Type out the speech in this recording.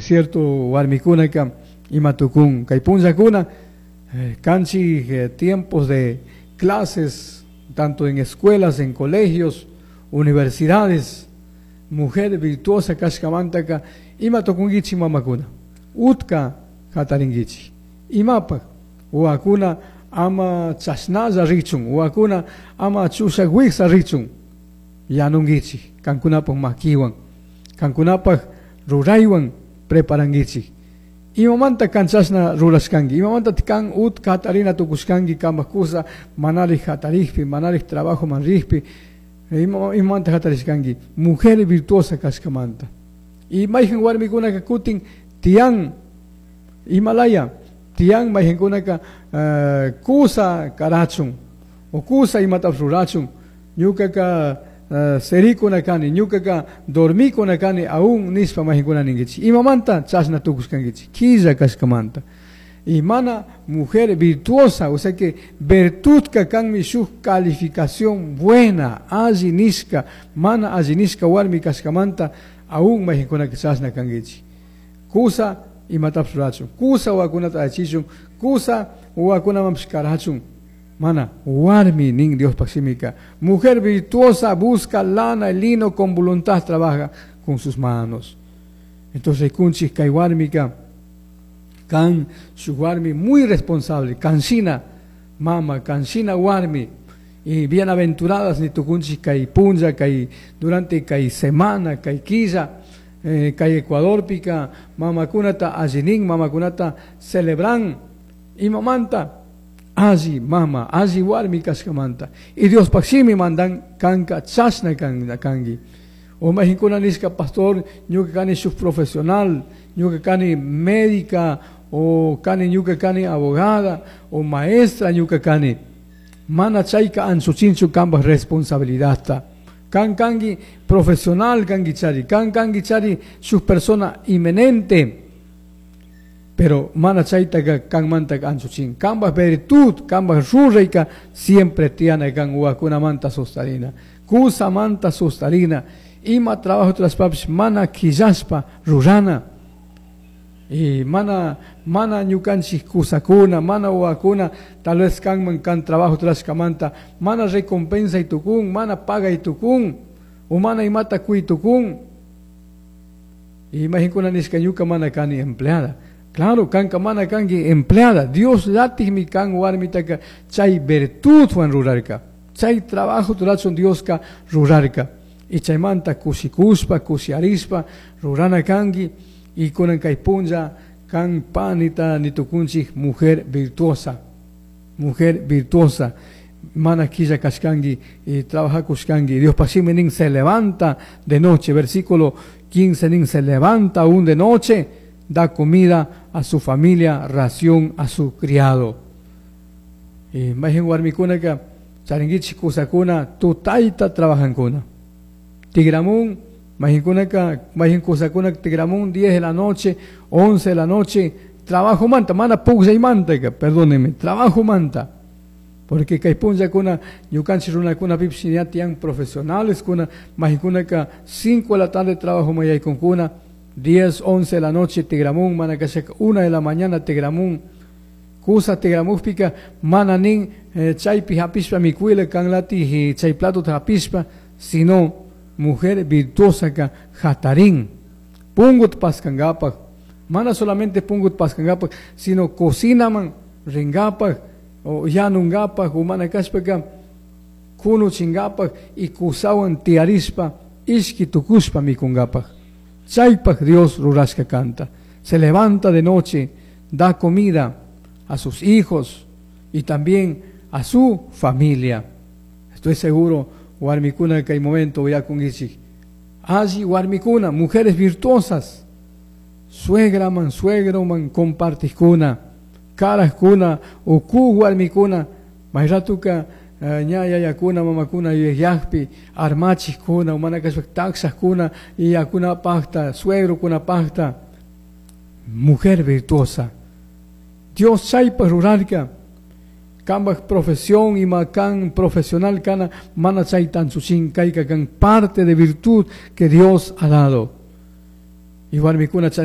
Cierto warmikunaka ima tukun kay punllakuna kanchik tiempos de clases, tanto en escuelas, en colegios, universidades. Mujer virtuosa kashkamantaka ima tukunkichik mamakuna, utka hatarinkichik imapak wawakuna ama chashnalla richun, wawakuna ama chushak wiksa richun, yanunkichik kankunapak makiwan, kankunapak ruraywan preparankichik. Imamanta kan chashna rurashkanki, imamanta kan utka hatarina tukushkanki kanpak kusa manarik hatarikpi, manarik trabajoman rikpi, imamanta hatarishkanki, mujer virtuosa kashkamanta. Y mayhan warmikunaka kutin tiyan imalaya, tiyan mayhankunaka kusa karachun o kusa imatapish rurachun, ñukaka serikuna kani, ñukaka dormikuna kani, aún nishpa mayhankuna ninkichik. Imamanta chashna tukushkankichik, killa kashkamanta. Y mana mujer virtuosa, o sea que virtud kanmi shuk calificación buena, alli nishka, mana alli nishka warmi kashkamanta, aún mayhankunaka chashna kankichik. Kusa imatapish rurachun, kusa wawakunata achichun, kusa wawakunamanpish karachun. Mana warmi nin Dios shimika. Mujer virtuosa busca lana y lino, con voluntad trabaja con sus manos. Entonces kunchik kay warmika kan su warmi muy responsable, kanshina mama, kanshina warmi, y bienaventuradas ni tukunchik kay punlla, kay durante kay semana, kay killa, kay Ecuadorpika mamakunata allinin, mamakunata celebran imamanta alli mama, alli warmi kashkamanta. Y Dios shimi mandan kanka chashna kangi. O mahinkuna nishka pastor, ñuka kani shuk profesional, ñuka kani médica, o kani ñuka kani abogada, o maestra ñuka kani. Mana chayka anchuchinchu kanpak responsabilidadta. Kan kangi profesional kangi chari, kan kangi chari shuk persona inmenente. Pero mana chaytaka kanmantaka anchuchin. Kanpak virtud, kanpak rurayka siempre tiana kan wawakunamanta sostarina. Kusamanta sostarina. Ima trabajo traspapish mana quillaspa rurana. Y mana, mana ñukanchik kusakuna, mana wawakuna, tal vez kanman kan trabajo traskamanta, mana recompensa y tukun, mana paga y tukun, o mana imata kui tukun. Y imaginkuna nishka ñuka mana kani empleada. Claro, kanka mana kanki empleada. Dios llatikmi kan warmitaka chay virtud wan rurarka. Chay trabajo rurachun Dioska rurarka. Y chaymanta kushikuspa, kushiarispa, rurana kanki. Y kunan kay punlla kan panita nitukunchik mujer virtuosa. Mujer virtuosa. Mana quilla kashkanki y trabajakushkanki. Dios pashimi nin se levanta de noche. Versículo 15 nin se levanta aún de noche, da comida a su familia, ración a su criado. Y mayhan warmikunaka charinkichik kusakuna tutayta trabajankuna. Tigramun, mayhankunaka, mayhan kusakuna tigramun 10 de la noche, 11 de la noche, trabajo manta, mana pugllaymanta, perdónenme, trabajo manta. Porque kay punllakuna ñukanchik runakuna pipish ña tiyan profesionales kuna, mayhankunaka 5 de la tarde trabajo mayaykunkuna, 10, 11 de la noche tigramun, mana kashaka 1 de la mañana tigramun, kusa tigramukpika mana nin chaypi hapishpa mikuila kanlati chay plato hapishpa, sino mujer virtuosa ka hatarin, pungut paskangapak, mana solamente pungut paskangapak, sino cocinaman ringapak, o yanungapak, o mana kashpaka kunuchingapak y kusawan tiarispa, ishki tukushpa mikungapak. Chaypak Dios rurashka kanta. Se levanta de noche, da comida a sus hijos y también a su familia. Estoy seguro, warmikuna que hay momento voy a kungichik. Allí warmikuna, mujeres virtuosas, suegra man, suegro man, compartiskuna, karaskuna, uku warmikuna, mayratuka ña yayakuna, mamakuna yuyayakpi, armachiskuna, umanakashpa takshaskuna, iyakuna pakta, suegrokuna pakta. Mujer virtuosa. Dios chaypa rurarka. Kanpak profesión ima kan profesional kana mana chaytan chuchin kayka kan parte de virtud que Dios ha dado. Y warmikuna charin